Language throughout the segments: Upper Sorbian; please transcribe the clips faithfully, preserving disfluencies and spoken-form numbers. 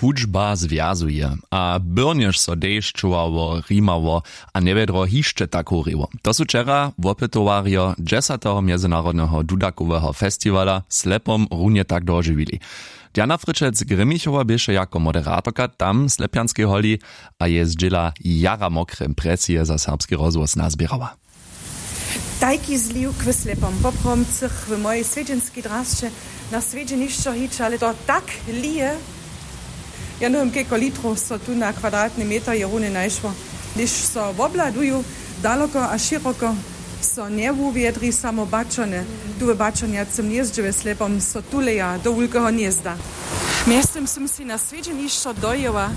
Hudźba zwjazuje, a byrnjež so dešćowało, rimało a njewjedro hišće tak horjeło. To su wčera wopytowarjo dźesateho mjezynarodneho dudakoweho festiwala slepom runje tak dožiwili. Diana Fryčec-Grimmichowa běše jako moderatorka tam w slepjanskej holi a je zdźěla jara mokre impresije za Serbski rozhłos nazběrała. Tajki zliwk w slepom popromcych w mojej swjedźenskej drasće na swjedźenišćo hić, ale to tak lije. Ja nowym kejko litrow so tu na kwadratny meter je runje najšło. Hdyž so wobhladuju daloko a šěroko, so njewuwjedri samo baćony. Tu w baćonjacym hnězdźe we slepom so tuleja do wulkeho hnězda. Mjeztym sym sej na swjedźenišćo dojěła.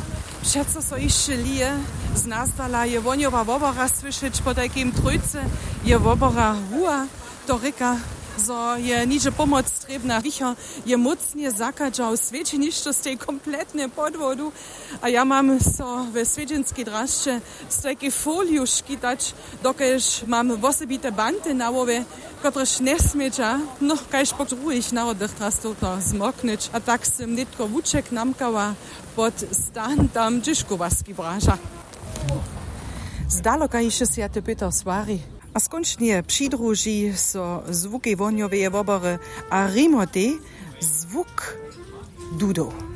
Přeco so hišće lije. Z nazdala je wohnjowa wobora słyšeć. Potajkim trójce je wobora huła. To rěka, zo je nihdźe pomoc trěbna. Wicher je mócnje zachadźał swjedźenišćo stej kompletnje pod wodu. A ja mam so we swjedźenskej drasće z tajkej foliju škitać, dokelž mam wosebite banty na hłowje, kotrež njesmědźa, no, kaž po druhich narodnych drastowno zmoknyć. A tak sym nětko wuček namkała pod stan tam, hdźež kowarski braža. Zdaloka hišće swjaty pětr swari. A skónčnje přidruži so zwukej wohnjoweje wobory a rimotej zwuk dudow.